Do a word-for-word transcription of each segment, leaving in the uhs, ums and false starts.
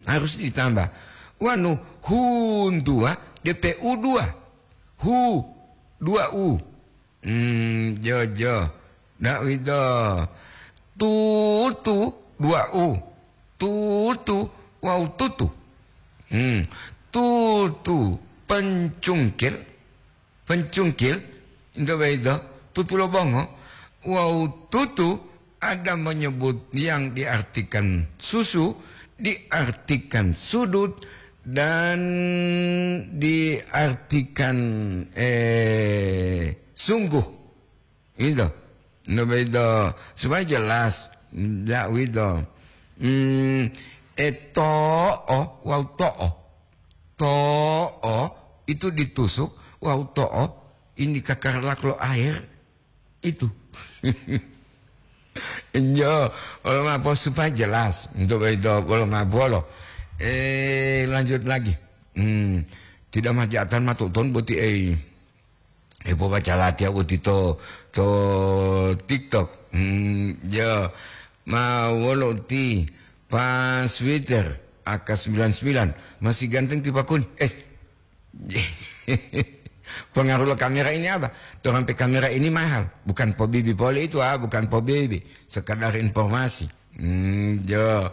harus ditambah. Wanu huntuwa, D P U dua. Hu, dua U. Hmm, jo, jo. Ndak wito. Tutu, dua U. Tutu, wau tutu. Hmm. Tutu, pencungkil. Pencungkil, ento boyito, tutu lo bongo. Wau tutu ada menyebut yang diartikan susu, diartikan sudut, dan diartikan, eh, sungguh. Ito. Ento boyito, supaya jelas. Ndak wito. Hmm, e to'o, wau to'o. To'o itu ditusuk, wau to'o ini kakarlak lo air itu. Injo, wolo ma'o supaya jelas. Untuk itu, wolo ma'o bolo. Eh, lanjut lagi. Hmm, tidak majatan matuton boti, eh. Eh, pobaca latihan uti to, to TikTok. Hmm, ya. Ma wolo uti pas Twitter, A K sembilan sembilan. Masih ganteng ti pakun. Eh, pengaruh lo kamera ini apa? Torampe kamera ini mahal. Bukan pobibi pole itu, ah, bukan pobibi. Sekadar informasi. Hmm, jo.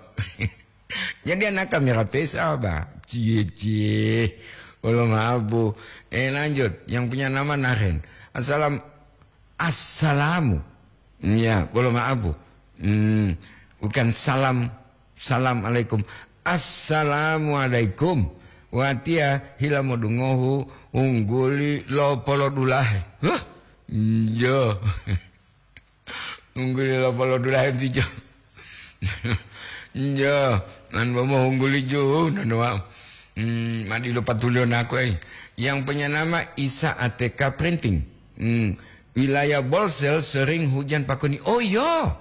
Jadi anak kamera pesa apa? Cie, cie. Wolo ma'o. Eh, lanjut. Yang punya nama Naren. Assalam-, assalamu. Ya, wolo ma'o. Hmm, bukan salam, salam alaikum. Assalamualaikum. Watiya hila modungohu ungguli lo polodulahe. Hah? Njo. Ungguli lo polodulahe tijo. Njo. Nan bomo ungguli ju, nanu wa'u. Hmm, madi lo patulio nako, eh. Yang punya nama Isa A T K Printing. Hmm, wilayah Bolsel sering hujan pakuni. Oh, iya.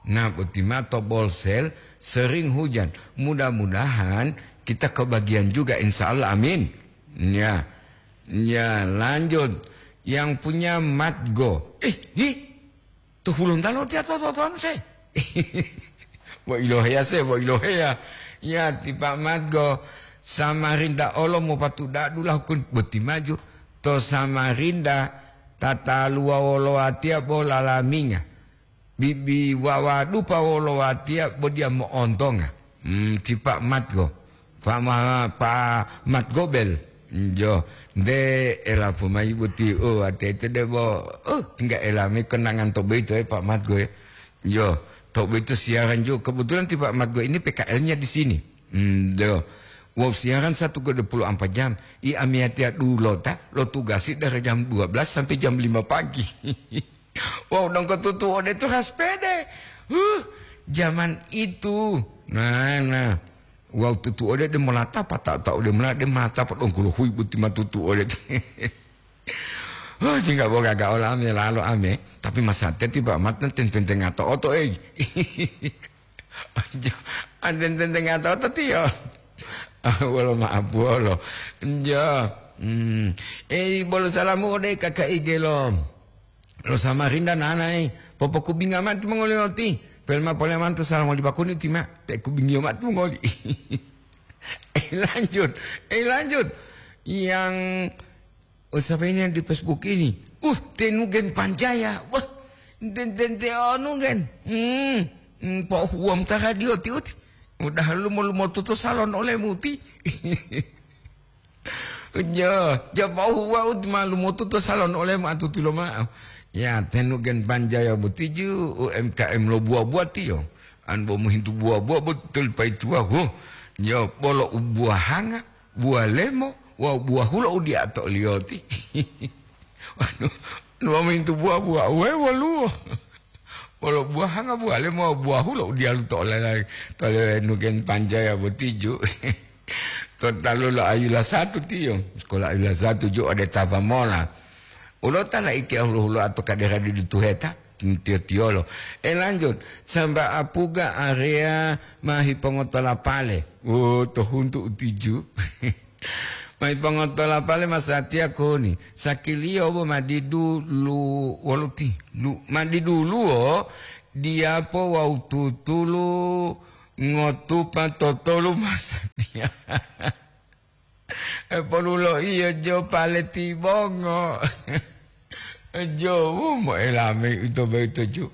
Nah, boti ma to Bolsel sering hujan. Mudah-mudahan kita kebagian juga, insya Allah. Amin. Ya. Ya, lanjut. Yang punya Matgo. Eh, hi. To Hulontalo tiya to, to, to, anu se. Bo iloheya se, bo iloheya. Ya, ti Pak Matgo, Samarinda olo mopatuda dula hukun boti maju. To Samarinda, tataluwa wolo watiya bo lalaminga. Bibi wawadupa wolo watiya bo diya mo'ontonga. Hmm, ti Pak Matgo. Pak Ma-, Pak Matgobel. Jo, nte elapu mayi boti, oh, ate-ate debo, oh, tinggal elame kenangan to boyito, eh, Pak Matgo, ya. Jo, to boyito siaran jo. Kebetulan ti Pak Matgo ini P K L-nya di sini. Hmm, jo. Wow, siaran satu kode puluh empat jam. I amiyatiya dulota, lo tugasi dari jam dua belas sampai jam lima pagi. Wow, dongko tutu ode tu haspede. Huh, zaman itu. Nah, nah. Wawu tutu'ode de molata, pata'o-ta'o de mola de mata podongkuluhuyi boti ma tutu'ode. Huh, jingga bo gaga olame lalo ame, tapi masate tiba mate ten-, ten-, tenga to'oto, ei. Anten ten-, tenga to'oto tiyo. Ah, wolo ma'apuwolo. Njo. Hmm. Ei, bolo salamu ode kaka igelo. Lo Samarinda nanae, popokubinga mao timongoli oti. Pelma pole mantu salamoli pakuni tima, te kubingiyo mao timongoli. Eh, lanjut. Eh, lanjut. Yang, oh, siapa ini yang di Facebook ini? Uh, Tenugen Panjaya. Wah, den, den, te anu gen. Hmm, hmm, pohuwam ta radio ti uti. Udah lumo-lumo tutu salon olemu ti. Ja, ja pahu wau ti malu motuto salon olemu atuti loma'o. Ya, Tenugen Panjaya boti ju U M K M lo buwa-buwa tiyo. An bo mohintu buwa-buwa boti toli paituwa, wo. Ja, bolo u buwahanga, buwa lemo, wawu buwa hulo u diya to oliyoti. Waduh, nu mohintu buwa-buwa, we woluwo. Wolo buwahanga buwale mo buwahu lo u diyalu to olelai, to Tenugen Panjaya boti ju. To talu lo Ayula satu tiyo, sekolah Ayula satu ju ode Tapamola. Ulo ta laiki hulo-huloa to kadera didu tuheta, tiyo-tiyolo. Eh, lanjut, samba apuga area ma hipongotola pale. Oh, to huntu utiju. Mai pongotola pale masatiya koni, sakiliyo bo madidu lu-, woluti, lu-, madiduluwo diyapo wawu tutulu ngotupa totolu masatiya. Epoluloiyo jo pale tibongo. Jowu moelame ito boyito ju.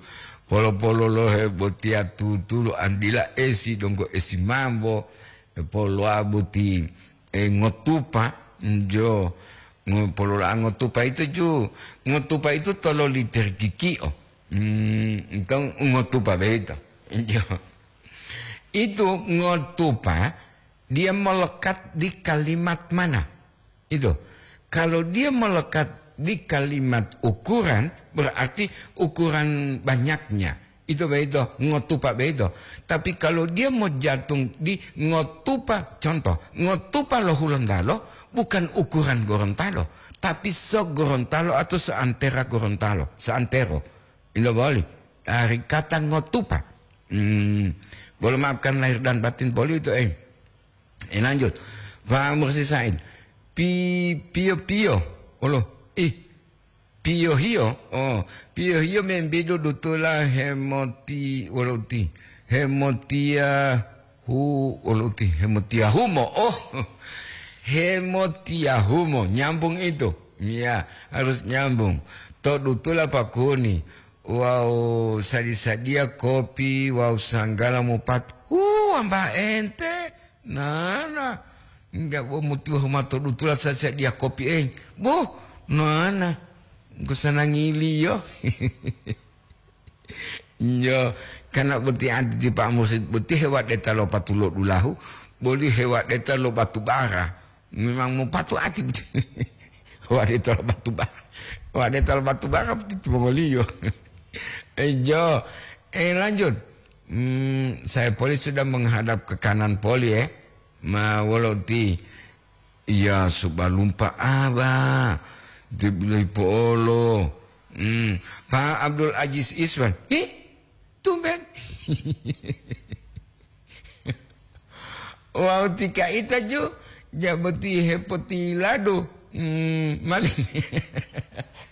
Polo-pololohe botiya tutulu andila esi donggo esi mambo. Epoloa boti, e, ngotupa, jo. Ngo-, polola ngotupa itu ju. Ngotupa itu tolo liter kiki'o. Hmm, itu ngotupa boyito. Jo. Itu ngotupa dia melekat di kalimat mana? Itu. Kalau dia melekat di kalimat ukuran, berarti ukuran banyaknya. Itu begitu, ngotupa begitu. Tapi kalau dia mau jatuh di ngotupa, contoh, ngotupa lo Hulontalo, bukan ukuran Gorontalo, tapi se-Gorontalo atau seantera Gorontalo, seantero. Itu boleh. Dari kata ngotupa. Hmm, boleh maafkan lahir dan batin boleh itu, eh. Eh, lanjut. Pak Mursi Said. Pi-, piyo-piyo. Olo. Ih. Piyo-hiyo. Oh, piyo-hiyo membidu dutula hemoti-, wolo uti. Hemotia hu-, wolo uti. Hemotia humo. Oh. Hemotia humo. Nyambung itu. Ya, harus nyambung. To dutula pakuni. Wawu sadi-sadiya kopi wawu sanggala mopat. Hu, wambao ente. Nana, enggak bo mutuwa humato dutula sasadiya kopi, eh. Bo, nana, engko sanangiliyo. Njo, kana boti ati ti Pak Mursid boti hewadeta lo patulo dulahu, boli hewadeta lo batu bara. Memang mopatu ati boti. Hewadeta lo batu bara. Hewadeta lo batu bara boti timongoliyo. Eh, jo. Eh, lanjut. Hmm, saya poli sudah menghadap ke kanan poli, eh. Ma wolo ti, iya, subalumpa aba. Ti bilohi po'olo. Hmm, Pak Abdul Aziz Iswan. Hi, tumben. Wawu ti kaita ju, jaboti hepotiladu. Hmm, mali.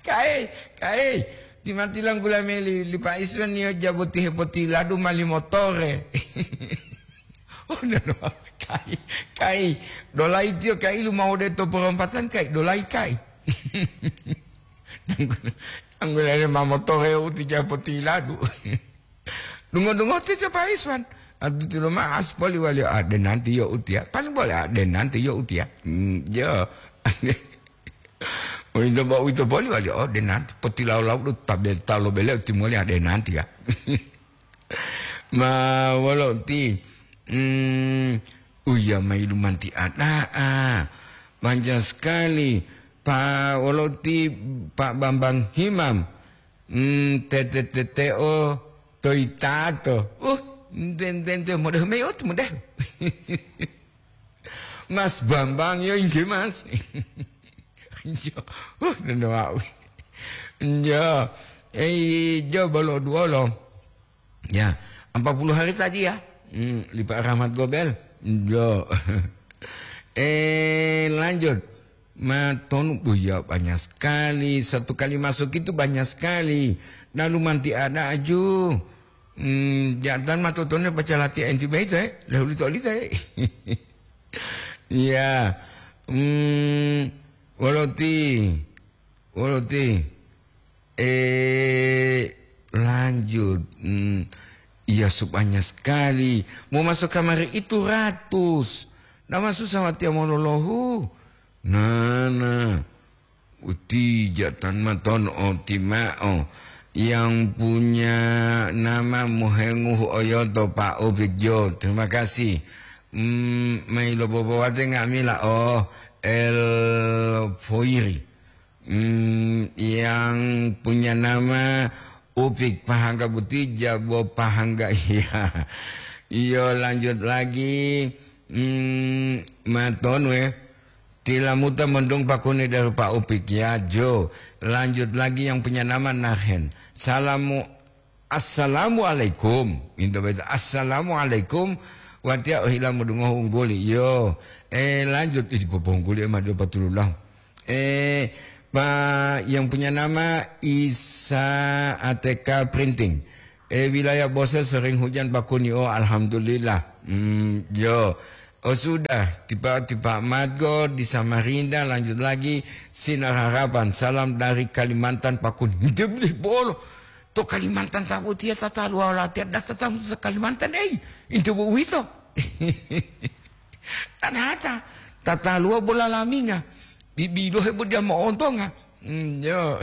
Kai, kai. Ti matilang gula meli, li Pak Iswan niyo jaboti hepotiladu mali motore. Oh, no, no. Kai, kai. Dolai tiyo kai lumawode to porompatan kai, dolai kai. Anggulane ma motore uti jaboti ladu. Dungo-dungo ti Pak Iswan. Adu ti loma as poli wali ade nanti yo utia. Paling boleh ade nanti yo utia. Hmm, yo. Uwito bo uwito poli wali, oh, denanti. Potilawo-lawo do tabe-, talo bele timoli, ah, denanti, ya. Ma wolo ti, mm, uya mayi lumanti ada'a. Banyak sekali. Pa wolo ti Pak Bambang Himam. Mm, tete-teteo toitato. Uh, enten-enten modehu mayi otu modehu. Mas Bambang, yo inggih, Mas. Jo, uh, nendo wau. Jo, eh, jo bolo duolo. Ya, empat puluh hari tadi ya. Hmm, lipat rahmat gobel. Jo. Eh, lanjut. Matonu, oh ya, banyak sekali. Satu kali masuk itu banyak sekali. Lalu manti ada aju. Hmm, jantan matotone baca latihan enti baita, eh. Lahuli to lita, eh. Iya. Hmm, wolo ti, wolo ti. Eh, lanjut. Hmm, iya, banyak sekali. Mau masuk kamar itu ratus. Nama susah watiya mololohu. Nah, nah. Uti jatan maton oti ma'o. Yang punya nama mohenguhu oyoto Pak Upik Jo. Terima kasih. Hmm, mailo bobowate nga'amila. Oh, El Foiri. Hmm, yang punya nama Upik Pahangga Butija, bo Pahangga, iya. Iyo, lanjut lagi. Hmm, maton we. Tilamuta mendung pakuni dari Pak Upik, ya, Jo. Lanjut lagi yang punya nama Nahen. Salamu, assalamualaikum. Minta baca, assalamualaikum. Watia ohila mudungohu ungguli. Yo. Eh, lanjut. Ih, popongkuli, eh, madu patululah. Eh, Pak, yang punya nama Isa A T K Printing. Eh, wilayah Bosel sering hujan, Pak Kuni. Oh, alhamdulillah. Hmm, yo. Oh sudah, tipa-tipa Madgo di Samarinda, lanjut lagi Sinar Harapan. Salam dari Kalimantan Pakun. Nte boleh bolo. To Kalimantan tabutia tataluwa latihan data tamu sa Kalimantan, ei, inte bo uwito. Tanata, tataluwa bola laminga. Bibilohe bo dia mo'ontonga. Hmm, yo.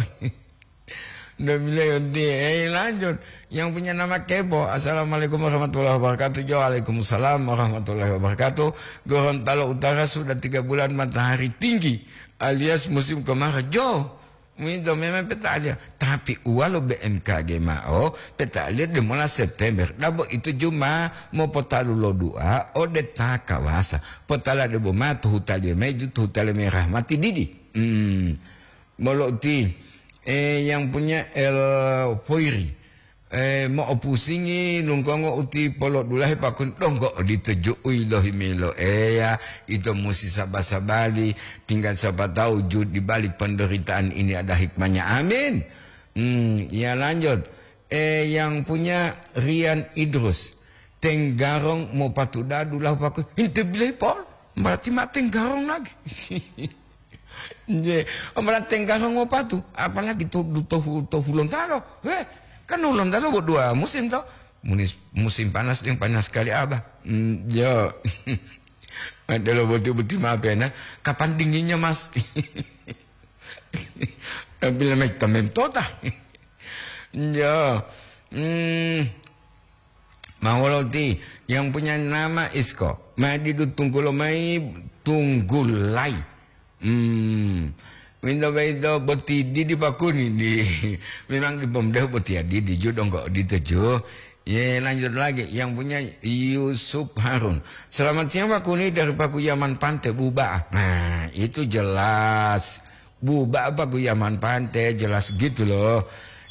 Nda bilayo nti, eh, lanjut. Yang punya nama Kepo. "Assalamualaikum warahmatullahi wabarakatuh." Jo, "Waalaikumsalam warahmatullahi wabarakatuh." Gorontalo Utara sudah tiga bulan matahari tinggi alias musim kemarau. Jo, minto memang peta'aliya. Tapi uwalo B M K G ma'o, peta'aliya demola September. Dabo itu juma mopotalu lo dua ode ta kawasa. Potala debo ma to hutaliyo mayi ju to hutaliyo mayi rahmati didi. Hmm. Bolo uti, eh, yang punya El Foiri. Eh, mo'opusingi lunggongo uti polodulahe pakun donggo odito ju'u ilohimelo. Eya, ito musi saba-sabali, tinggal siapa tahu ju di balik penderitaan ini ada hikmahnya. Amin. Hmm, ya lanjut. Eh, yang punya Rian Idrus. Tenggarong mopatu dadu lahu paku. Inte bilai pol. Berarti ma tenggarong lagi. Nje, berarti tenggarong mopatu. Apalagi to, to, to, to Hulontalo. Heh, kan Hulontalo bo dua musim to. Munis-, musim panas yang panas sekali abah. Hmm, yo. Ada lo boti-boti maaf ya, nah. Kapan dinginnya, Mas? Bila mai tamem tota. Yo. Hmm. Mawoloti yang punya nama Isko. Madidu tunggulo mai tunggulai. Hmm. Winto baito boti didi pakuni di. Memang di pomdehu boti ya didi ju donggo odito ju. Ye, lanjut lagi. Yang punya Yusuf Harun. "Selamat siang Pakuni dari Pakuyaman Pante Buba." Nah, itu jelas. Buba apa Guyaman Pante, jelas gitu loh.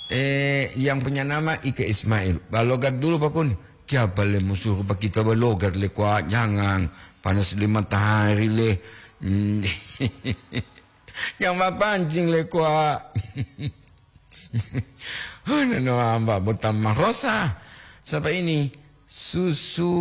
Eh, yang punya nama Ike Ismail. Balogat dulu, Pakun. Siapa le musuh Pak kita balogat le, kwa? Jangan. Panas le matahari le. Hmm. Yang mapancing le, kwa. Hana no amba bota marosa. Siapa ini? Susu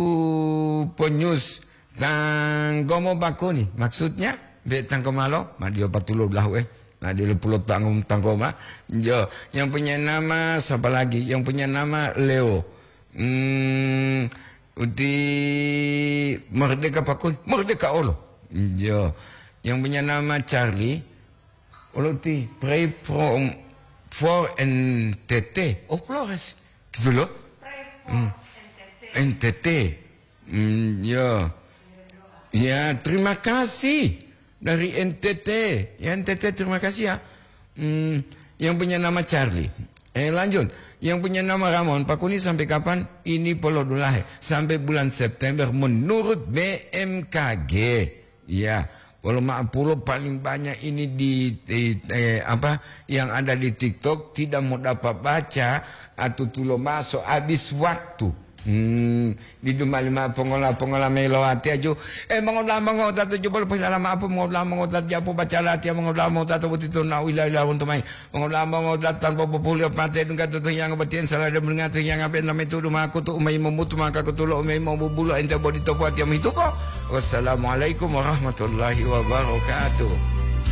penyus. Tanggomo bakuni, maksudnya, be tanggo malo, ma dio patulo belahu, eh. Nah, dio pulo tanggo, tanggo ma. Jo, yang punya nama siapa lagi? Yang punya nama Leo. Hmm, uti Merdeka Pakun, Merdeka Olo. Jo, yang punya nama Charlie, Olo ti pray from, for N T T. Oh, Flores. Gitu loh. Hmm. N T T. Hmm, ya. Ya, terima kasih dari N T T. Ya, N T T, terima kasih ya. Hmm, yang punya nama Charlie. Eh, lanjut. Yang punya nama Ramon, Pakuni sampai kapan ini polodulahe? Sampai bulan September menurut B M K G. Ya, wolo ma'apulo paling banyak ini di, di, eh, apa, yang ada di TikTok tidak mau dapat baca atau tulo maso habis waktu. Hmm, di duma lima pongola-pongola melo ati aju. Eh, mongola mongo tatu jubal pahilala maaf, mongola mongo tatu japu baca lati, mongola mongo tatu butito na ila ila untuk mai. Mongola mongo tatu tanpa populia pate dungga tutu yang betian salah dan mendengar yang apa yang namanya itu rumah aku tu umai memutu maka aku tulo umai mau bubulu ente bodi topo ati yang itu kok. Wassalamualaikum warahmatullahi wabarakatuh.